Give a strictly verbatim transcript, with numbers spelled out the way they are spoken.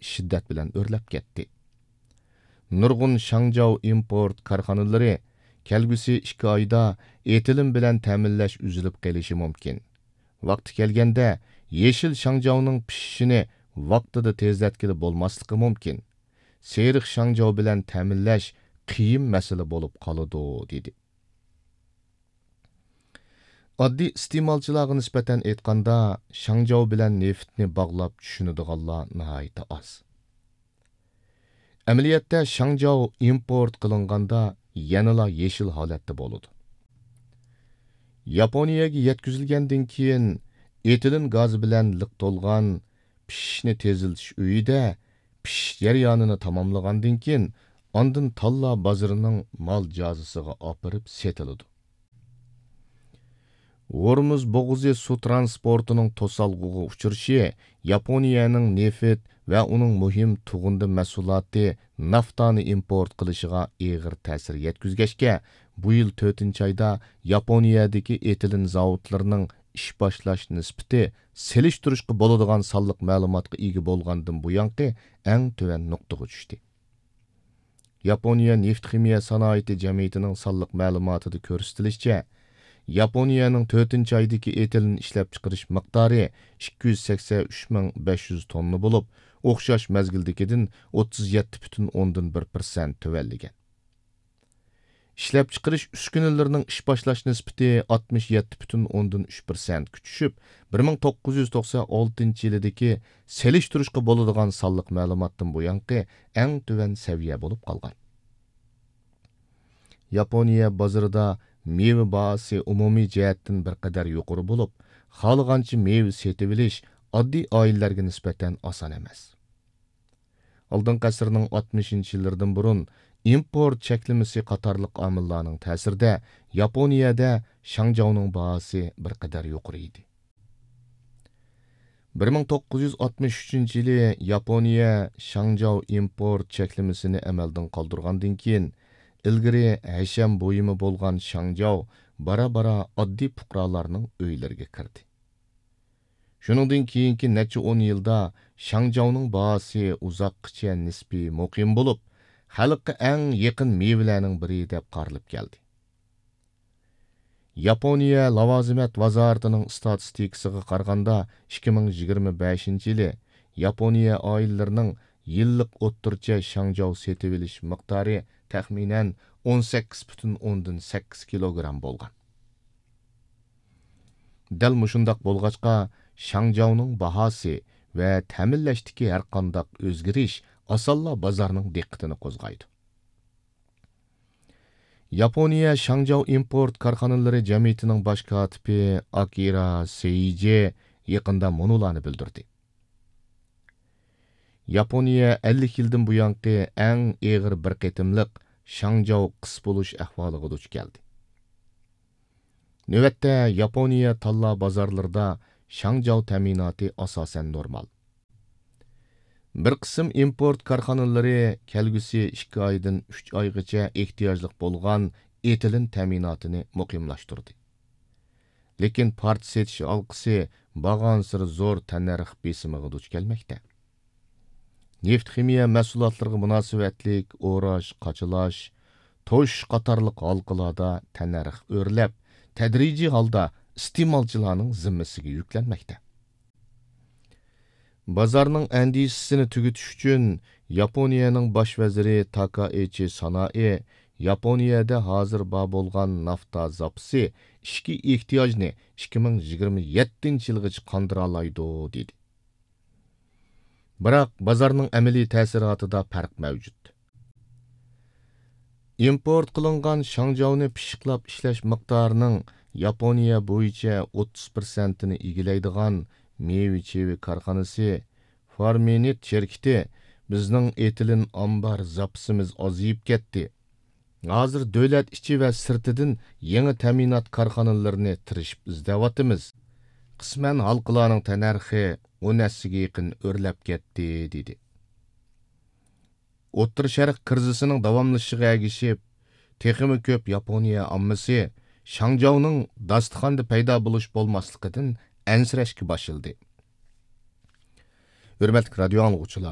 شىددەت بىلەن ئۆرلەپ كەتتى. نۇرغۇن شاڭجاۋ ئىمپورت كارخانىلىرى كەلگۈسى ئىككى ئايدا ئېتىلىن بىلەن تەمىنلەش ئۈزۈلۈپ قېلىشى مۇمكىن. ۋاقتى كەلگەندە، يېشىل شاڭجاۋنىڭ پىشىشىنى ۋاقتىدا تېزلەتكىلى بولماسلىقى مۇمكىن. سېرىق شاڭجاۋ بىلەن تەمىنلەش قىيىن مەسىلە بولۇپ قالىدۇ، دېدى. ئاددىي ئىستېمالچىلارغا نىسبەتەن ئېيتقاندا، شاڭجاۋ بىلەن نېفىتنى باغلاپ چۈشىنىدىغانلار ناھايىتى ئاز. ئەمەلىيەتتە، شاڭجاۋ ئىمپورت قىلىنغاندا يەنىلا يېشىل ھالەتتە بولىدۇ. ياپونىيەگە يەتكۈزۈلگەندىن كېيىن، ئېتىلېن گازى بىلەن لىق تولغان پىشىشنى تېزلىتىش ئۆيىدە پىشىش جەريانىنى تاماملىغاندىن كېيىن، ئاندىن تاللا بازىرىنىڭ مال جازىسىغا ئاپىرىپ سېتىلىدۇ. ھورمۇز بوغۇزى سۇ ترانسپورتىنىڭ توسالغۇغا ئۇچرىشى ياپونىيەنىڭ نېفىت ۋە ئۇنىڭ مۇھىم تۇغۇندى مەھسۇلاتى نافتانى ئىمپورت قىلىشىغا ئېغىر تەسىر يەتكۈزگەچكە، بۇ يىل تۆتىنچى ئايدا ياپونىيەدىكى ئېتىلېن زاۋۇتلىرىنىڭ ئىش باشلاش نىسبىتى سېلىشتۇرۇشقا بولىدىغان سانلىق مەلۇماتقا ئىگە بولغاندىن بۇيانقى ئەڭ تۆۋەن نۇقتىغا چۈشتى. ياپونىيە نېفىت خىمىيە سانائىتى جەمئىيىتىنىڭ سانلىق مەلۇماتىدا كۆرسىتىلىشىچە، ياپونىيەنىڭ تۆتىنچى ئايدىكى ئېتىلېن ئىشلەپچىقىرىش مىقدارى ئىككى يۈز سەكسەن ئۈچ مىڭ بەش يۈز توننا بولۇپ، ئوخشاش مەزگىلدىكىدىن ئوتتۇز يەتتە پۈتۈن ئوندىن بىر پىرسەنت تۆۋەنلىگەن. ئىشلەپچىقىرىش ئۈسكۈنىلىرىنىڭ ئىش باشلاش نىسبىتى ئاتمىش يەتتە پۈتۈن ئوندىن ئۈچ پىرسەنتكە چۈشۈپ، بىر مىڭ توققۇز يۈز توقسان ئالتىنچى يىلىدىكى سېلىشتۇرۇشقا بولىدىغان سانلىق مەلۇماتتىن بۇيانقى ئەڭ تۆۋەن سەۋىيە بولۇپ قالغان. ياپونىيە بازىرىدا مېۋە باھاسى ئومۇمىي جەھەتتىن بىر قەدەر يۇقىرى بولۇپ، خالىغانچە مېۋە سېتىۋېلىش ئاددىي ئائىلىلەرگە نىسبەتەن ئاسان ئەمەس. ئالدىنقى ئەسىرنىڭ ئاتمىشىنچى يىللىرىدىن بۇرۇن ئىمپورت چەكلىمىسى قاتارلىق ئامىللارنىڭ تەسىرىدە ياپونىيەدە شاڭجاۋنىڭ باھاسى بىر قەدەر يۇقىرى ئىدى. بىر مىڭ توققۇز يۈز ئاتمىش ئۈچىنچى يىلى ياپونىيە شاڭجاۋ ئىمپورت چەكلىمىسىنى ئەمەلدىن قالدۇرغاندىن كېيىن، ئىلگىرى ھەشەم بۇيۇمى بولغان شاڭجاۋ بارا-بارا ئاددىي پۇقرالارنىڭ ئۆيلىرىگە كىردى. شۇنىڭدىن كېيىنكى نەچچە ئون يىلدا شاڭجاۋنىڭ باھاسى ئۇزاققىچە نىسپىي مۇقىم بولۇپ، خەلققە ئەڭ يېقىن مېۋىلەرنىڭ بىرى دەپ قارىلىپ كەلدى. ياپونىيە لاۋازىمەت ۋازارىتىنىڭ ئىستاتىستىكىسىغا قارىغاندا، ئىككى مىڭ يىگىرمە بەشىنچى يىلى ياپونىيە ئائىلىلىرىنىڭ يىللىق ئوتتۇرىچە شاڭجاۋ سېتىۋېلىش مىقدارى تەخمىنەن ئون سەككىز پۈتۈن ئوندىن سەككىز كىلوگرام بولغان. دەل مۇشۇنداق بولغاچقا، شاڭجاۋنىڭ باھاسى ۋە تەمىنلەشتىكى ھەرقانداق ئۆزگىرىش ئاسانلا بازارنىڭ دىققىتىنى قوزغايدۇ. ياپونىيە شاڭجاۋ ئىمپورت كارخانىلىرى جەمئىيىتىنىڭ باش كاتىپى ئاكىرا سېيىجى يېقىندا مۇنۇلارنى بىلدۈردى. ياپونىيە ئەللىك يىلدىن بۇيانقى ئەڭ ئېغىر بىر قېتىملىق شاڭجاۋ قىس بولۇش ئەھۋالىغا دۇچ كەلدى. نۆۋەتتە ياپونىيە تاللا بازارلىرىدا شاڭجاۋ تەمىناتى ئاساسەن نورمال. بىر قىسىم ئىمپورت كارخانىلىرى كەلگۈسى ئىككى ئايدىن ئۈچ ئايغىچە ئېھتىياجلىق بولغان ئېتىلېن تەمىناتىنى مۇقىملاشتۇردى. لېكىن پارچە سېتىش ھالقىسى بارغانسېرى زور تەننەرخ بېسىمىغا دۇچ كەلمەكتە. نېفىت خىمىيە مەھسۇلاتلىرىغا مۇناسىۋەتلىك ئوراش، قاچىلاش، توشۇش قاتارلىق ھالقىلاردا تەننەرخ ئۆرلەپ، تەدرىجىي ھالدا ئىستېمالچىلارنىڭ زىممىسىگە يۈكلەنمەكتە. بازارنىڭ ئەندىشىسىنى تۈگىتىش ئۈچۈن، ياپونىيەنىڭ باش ۋەزىرى تاكائىچى سانائى ياپونىيەدە ھازىر بار بولغان نافتا زاپىسى ئىچكى ئېھتىياجنى ئىككى مىڭ يىگىرمە يەتتىنچى يىلغىچە قاندۇرالايدۇ، دېدى. بىراق، بازارنىڭ ئەمەلىي تەسىراتىدا پەرق مەۋجۇت. ئىمپورت قىلىنغان شاڭجاۋنى پىششىقلاپ ئىشلەش مىقدارىنىڭ ياپونىيە بويىچە ئوتتۇز پىرسەنتىنى ئىگىلەيدىغان مېۋە چېۋە كارخانىسى فارمىنىت شىركىتى، بىزنىڭ ئېتىلېن ئامبار زاپىسىمىز ئازىيىپ كەتتى. ھازىر دۆلەت ئىچى ۋە سىرتىدىن يېڭى تەمىنات كارخانىلىرىنى تىرىشىپ ئىزدەۋاتىمىز. قىسمەن ھالقىلارنىڭ تەننەرخى ئون ھەسسىگە يېقىن ئۆرلەپ كەتتى، دېدى. ئوتتۇرا شەرق كىرىزىسىنىڭ داۋاملىشىشىغا ئەگىشىپ، تېخىمۇ كۆپ ياپونىيە ئاممىسى شاڭجاۋنىڭ داستىخاندا پەيدا بولۇش بولماسلىقىدىن ئەنسىرەشكە باشلىدى. ھۆرمەتلىك رادىيو ئاڭلىغۇچىلار!